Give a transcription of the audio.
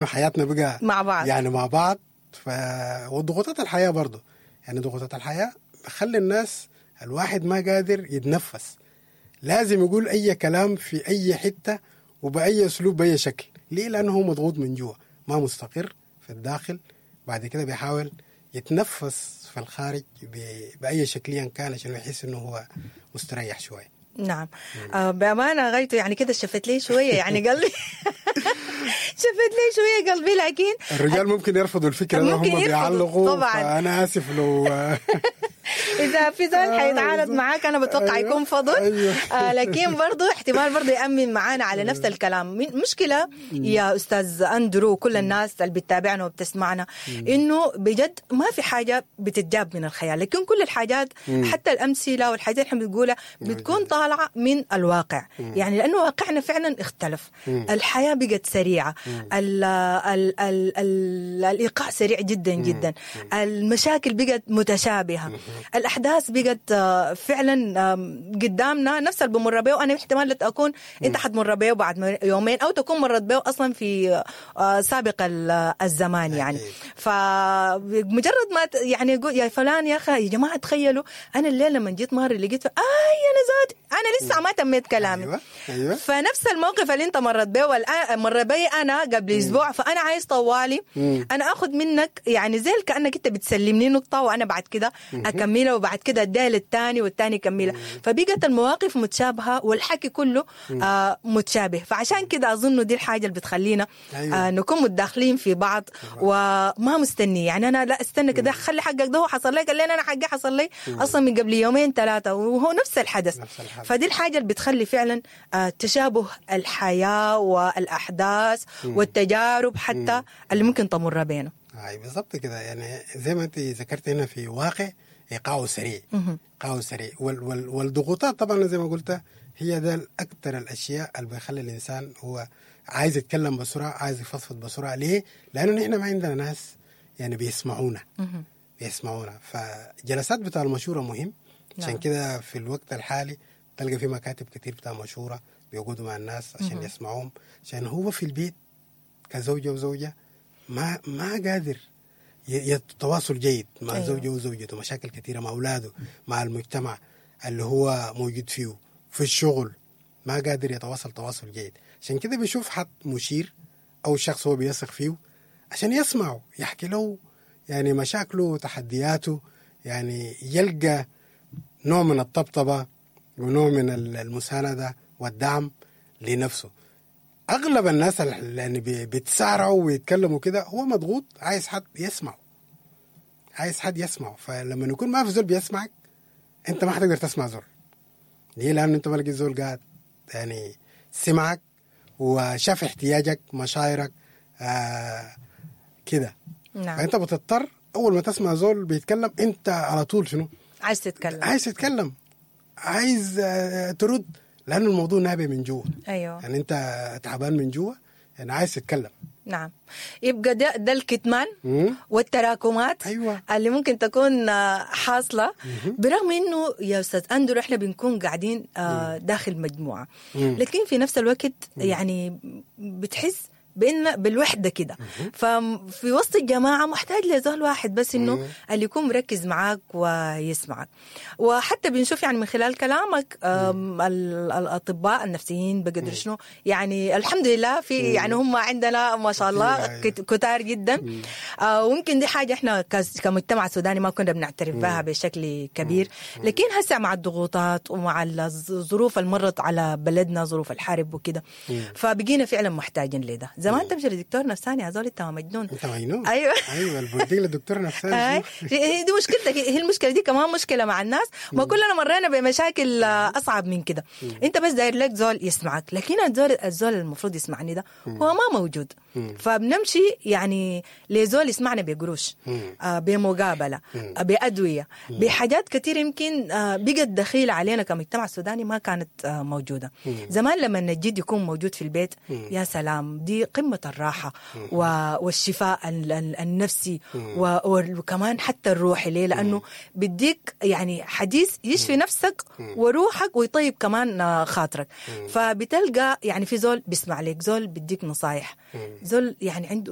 حياتنا بقى مع بعض. يعني مع بعض. وضغوطات الحياة برضو، يعني ضغوطات الحياة بخلي الناس الواحد ما قادر يتنفس، لازم يقول أي كلام في أي حتة وبأي أسلوب بأي شكل. ليه؟ لأنه هو مضغوط من جوا، ما مستقر في الداخل، بعد كده بيحاول يتنفس في الخارج بأي شكل كان عشان يحس إنه هو مستريح شوية. نعم. بأمانة غايته يعني كده شفت لي شوية يعني قلبي شفت لي شوية قلبي. لكن الرجال ممكن يرفضوا الفكرة ده، هم بيعلقوا طبعا. فأنا آسف لو إذا في زول حيتعارض معاك أنا بتوقع يكون فضل. أيوة. لكن برضو احتمال برضو يأمن معانا على نفس الكلام. مشكلة يا أستاذ أندرو وكل الناس اللي بتتابعنا وبتسمعنا إنه بجد ما في حاجة بتتجاب من الخيال، لكن كل الحاجات حتى الأمثلة والحاجات اللي احنا بنقولها بتكون طالعة من الواقع. يعني لأنه واقعنا فعلا اختلف، الحياة بقت سريعة، ال ال ال ال الإيقاع سريع جدا جدا، المشاكل بقت متشابهة، الأحداث بقت فعلا قدامنا نفس اللي بمر به، وأنا احتمال لا أكون أنت حتمر به بعد يومين أو تكون مرت به أصلا في سابق الزمان يعني. فمجرد ما يعني يقول يا فلان يا أخي يا جماعة تخيلوا أنا الليلة لما جيت ماري لقيت أنا ذاتي أنا لسه ما تميت كلامي. أيوة. أيوة. فنفس الموقف اللي أنت مرت به والآن مر بي أنا قبل أسبوع، فأنا عايز طوالي أنا أخذ منك يعني زي كأنك أنت بتسلمني نقطة وأنا بعد كده أكملها، وبعد كده أديها للثاني والثاني يكملها. فبقت المواقف متشابهة والحكي كله متشابه. فعشان كده أظن دي الحاجة اللي بتخلينا أيوة. نكون متداخلين في بعض وما مستني. يعني أنا لا استنى كده خلي حقك ده هو حصل لي، قال لي أنا حقي حصل لي أصلا من قبل يومين ثلاثة وهو نفس الحدث. فدي الحاجة اللي بتخلي فعلا تشابه الحياة والأحداث والتجارب حتى اللي ممكن تمر بينه. أي بالضبط كده. يعني زي ما أنت ذكرت هنا في واقع إيقاعه سريع، إيقاعه سريع، والضغوطات طبعا زي ما قلت هي ده أكثر الأشياء اللي بيخلي الإنسان هو عايز يتكلم بسرعة، عايز يفضفض بسرعة. ليه؟ لأنه نحن ما عندنا ناس يعني بيسمعونا. بيسمعونا. فجلسات بتاع المشورة مهم. عشان كده في الوقت الحالي تلقى في مكاتب كتير بتاع مشورة بيقعدوا مع الناس عشان يسمعوهم، عشان هو في البيت كزوجة وزوجة ما قادر يتواصل جيد مع أيوة. زوجه وزوجته، مشاكل كثيرة مع أولاده، مع المجتمع اللي هو موجود فيه، في الشغل ما قادر يتواصل تواصل جيد. عشان كده بيشوف حد مشير أو شخص هو بيثق فيه عشان يسمعه، يحكي له يعني مشاكله وتحدياته، يعني يلقى نوع من الطبطبة ونوع من المساندة والدعم لنفسه. أغلب الناس اللي يعني بيتسارعوا ويتكلموا كده هو مضغوط، عايز حد يسمعه، عايز حد يسمعه. فلما يكون ما في زول بيسمعك أنت ما حتقدر تسمع زول. ليه؟ لأنه أنت ما لقيت زول قاعد يعني سمعك وشاف احتياجك، مشاعرك، كده. نعم. فأنت بتضطر أول ما تسمع زول بيتكلم أنت على طول شنو؟ عايز تتكلم، عايز تتكلم، عايز ترد، لأنه الموضوع نابع من جوا. أيوة. يعني أنت تعبان من جوا، يعني عايز تتكلم. نعم. يبقى ده الكتمان والتراكمات. أيوة. اللي ممكن تكون حاصلة. برغم إنه يا أستاذ أندرو إحنا بنكون قاعدين داخل مجموعة، لكن في نفس الوقت يعني بتحس بإن بالوحدة كده. ففي وسط الجماعة محتاج لزول واحد بس إنه اللي يكون مركز معاك ويسمعك. وحتى بنشوف يعني من خلال كلامك الأطباء النفسيين بقدر شنو يعني الحمد لله في يعني هم عندنا ما شاء الله كتار جدا. ويمكن دي حاجة إحنا كمجتمع سوداني ما كنا بنعترف بها بشكل كبير، لكن هسه مع الضغوطات ومع الظروف اللي مرت على بلدنا، ظروف الحرب وكده، فبقينا فعلا محتاجين لده. زمان تمشي لدكتور نفساني يا زول انت مجنون، انت مجنون. ايوه ايوه، البوديك لدكتور نفساني. دي مشكلتك، هي المشكلة دي كمان مشكلة مع الناس، ما كلنا مرينا بمشاكل اصعب من كده. انت بس داير لك زول يسمعك، لكن الزول المفروض يسمعني ده هو ما موجود. فبنمشي يعني لزول يسمعنا بقروش، بمقابله، بادويه، بحاجات كثير يمكن بقت دخيله علينا كمجتمع سوداني ما كانت موجودة. زمان لما الجد يكون موجود في البيت يا سلام، دي قمة الراحة والشفاء النفسي وكمان حتى الروحي. ليه؟ لأنه بديك يعني حديث يشفي نفسك وروحك ويطيب كمان خاطرك. فبتلقى يعني في زول بيسمع لك، زول بديك نصايح، زول يعني عنده